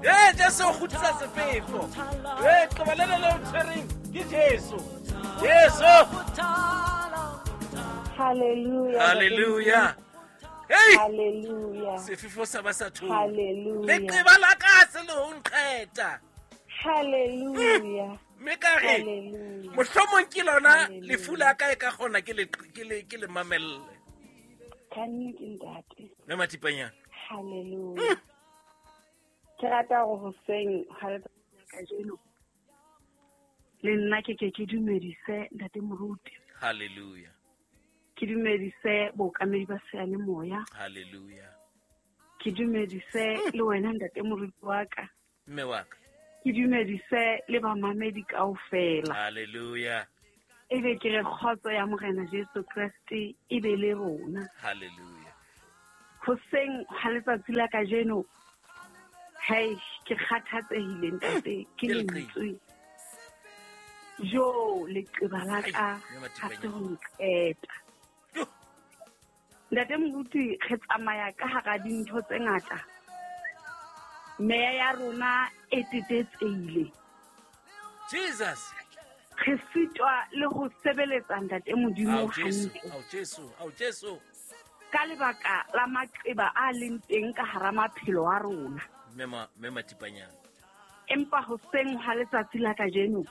Ee, Jesu o kgutlisa sefefo. Ee, qoba lena le o tshwereng ke Jesu. Jesu. Hallelujah. Hallelujah. Hey! Hallelujah. Sefefo sa ba sa thola. Hallelujah. Leqeba la ka se le ho nqeta. Hallelujah. Mme ka re Hallelujah. mohlomong ke lona Hallelujah. lefu la ka e ka kgona ke le ke le ke le mamelle. Ka nnete ntate. Mme Mathipanyana. Hallelujah. Ke rata hore hoseng ha letsatsi la kajeno le nna ke ke ke dumedise ntate moruti. Hallelujah. Ke dumedise bookamedi ba seyalemoya. Hallelujah. Ke dumedise le wena ntate moruti wa ka. Mme wa ka. Ke dumedise le bamamedi kaofela. Hallelujah. Ebe ke re kgotso ya Morena Jesu Kreste e be le rona. Hallelujah. Hoseng ha letsatsi la kajeno, hei, ke kgathatsehile ntate, ke Ke leqeba. lentswe. Jo, leqeba la Ai, ka mme ha se Mathipanyana. ho nqeta. Yo. Ntate moruti, re tsamaya ka hara dintho tse ngata. Meya ya rona e tetetsehile. Jesus. Re sitwa le ho sebeletsa ntate Modimo Ao Jesu, hantle. ao Jesu, ao Jesu. Ka lebaka la maqeba a leng teng ka hara maphelo a rona. Mme ma mme Mathipanyana. Empa hoseng ha letsatsi la kajeno,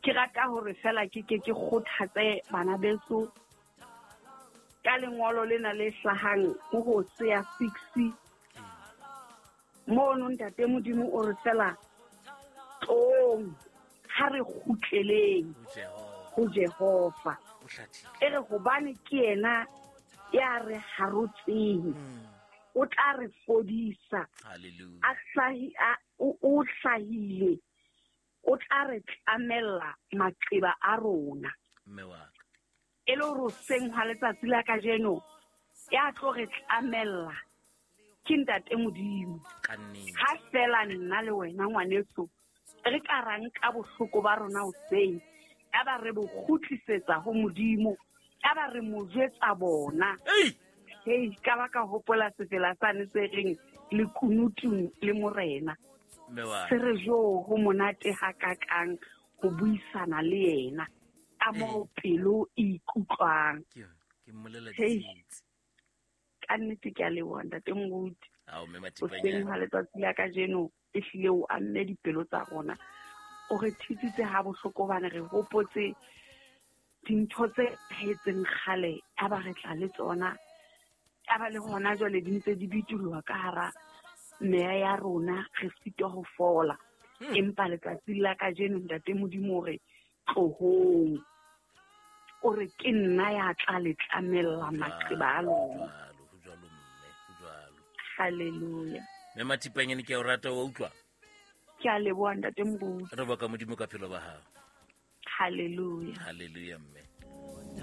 ke rata hore fela ke ke ke kgothatse bana beso ka lengolo lena le hlahang ho Hosea 6. Mono ntate Modimo o re fela tloong ha re kgutleleng Ho Jehova. ho Jehova. O hlathile. E re hobane ke yena ya re harotseng, o tla re fodisa. Hallelujah. A hlahi a o o hlahile, o tla re tlamella maqeba a rona. Mme wa ka. E le hore hoseng hwa letsatsi la kajeno ya tlo re tlamella ke ntate Modimo. Ka nnete. Ha fela nna le wena ngwaneso re ka ra nka bohloko ba rona hoseng, ya ba re bo kgutlisetsa ho Modimo, ya ba re mo jwetsa bona. Ei! Hei, ka ba ka hopola sefela sane se reng lekunutung le morena. Mme wa Se ka. re jo ho monate hakakang ho buisana le yena ka moo pelo e ikutlwang. Ke ke mmolela Hei. ditsietsi. Ka nnete ke a leboha ntate moruti. Ao mme Hoseng Mathipanyana. ha letsatsi la kajeno ehlile o amme dipelo tsa rona. O re thusitse ha bohloko hobane re hopotse dintho tse etsahetseng kgale ya ba re tla le tsona. Ya ba le hona jwale di ntse di bitoloha ka hara meya ya rona, re sitwa ho fola. Empa letsatsing la kajeno ntate Modimo o re tlohong. O re ke nna ya tla le tlamella maqeba a lona. Jwalo, ho jwalo mme, ho jwalo. Hallelujah. Mme Mathipanyana ke a o rata wa utlwa. Ke a leboha ntate moruti. Re boka Modimo ka phelo ba hao. Hallelujah. Hallelujah mme.